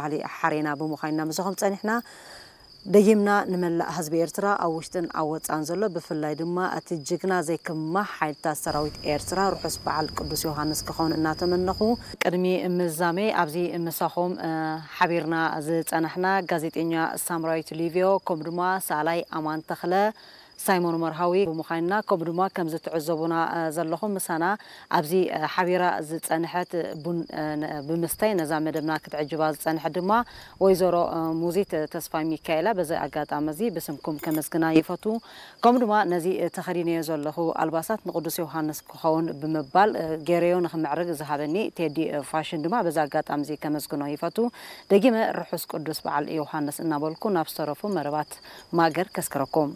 ባህሊ ሓሬና ብምዃንና ምሳኹም ጸኒሕና። ደጊምና ንመላእ ህዝቢ ኤርትራ ኣብ ውሽጥን ኣብ ወጻን ዘሎ፣ ብፍላይ ድማ እቲ ጅግና ዘይክማህ ሓይልታት ሰራዊት ኤርትራ ርሑስ በዓል ቅዱስ ዮሃንስ ክኸውን እናተመነኹ፣ ቅድሚ ምዛመይ ኣብዚ ምሳኹም ሓቢርና ዝጸናሕና ጋዜጠኛ ሳምራዊት ሊቪዮ፣ ከምኡ ድማ ሰኣላይ ኣማን ተኽለ፣ ሳይሞን መርሃዊ ብምዃንና፣ ከምኡ ድማ ከምዚ ትዕዘቡና ዘለኹም ምሳና ኣብዚ ሓቢራ ዝጸንሐት ቡን ብምስታይ ነዛ መደብና ክትዕጅባ ዝጸንሐት ድማ ወይዘሮ ሙዚት ተስፋ ሚካኤላ፣ በዚ ኣጋጣሚ እዚ ብስምኩም ከመስግና ይፈቱ። ከምኡ ድማ ነዚ ተኸዲነዮ ዘለኹ ኣልባሳት ንቅዱስ ዮሃንስ ክኸውን ብምባል ገይረዮ ንኽምዕርግ ዝሃበኒ ቴዲ ፋሽን ድማ በዚ ኣጋጣሚ እዚ ከመስግኖ ይፈቱ። ደጊመ ርሑስ ቅዱስ በዓል ዮሃንስ እናበልኩ ናብ ዝተረፉ መረባት ማገር ከስክረኩም።